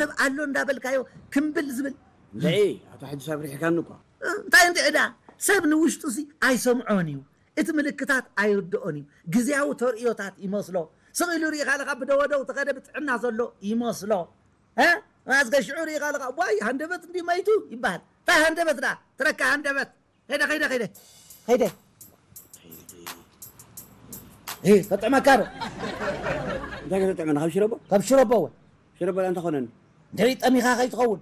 ሰብ ኣሎ እንዳበልካዮ ክምብል ዝብል እንታይ ኣቶ ሓጂ ሳብሪሕካኒ እኮ እንታይ እንድዕዳ ሰብ ንውሽጡ ሲ ኣይሰምዖን እዩ። እቲ ምልክታት ኣይርድኦን እዩ። ግዜያዊ ተርእዮታት ይመስሎ። ስቕ ኢሉ ርኢኻ ኣለኻ ብደወደው ተኸደ ብጥዕና ዘሎ ይመስሎ። እ? ኣዝገ ሽዑ ርኢኻ ኣለኻ ዋይ ሃንደበት እንዲ መይቱ ይበሃል። እንታይ ሃንደበት ዳ ትረካ ሃንደበት ከይደ ከይደ ከይደ ከይደ እ፣ ከጥዕመካ ዶ እንታይ ከተጥዕመና ካብ ሽረቦ ካብ ሽረቦ እውን ሽረቦ እንታይ ኮነኒ ድሕሪ ጠሚኻ ከይትኸውን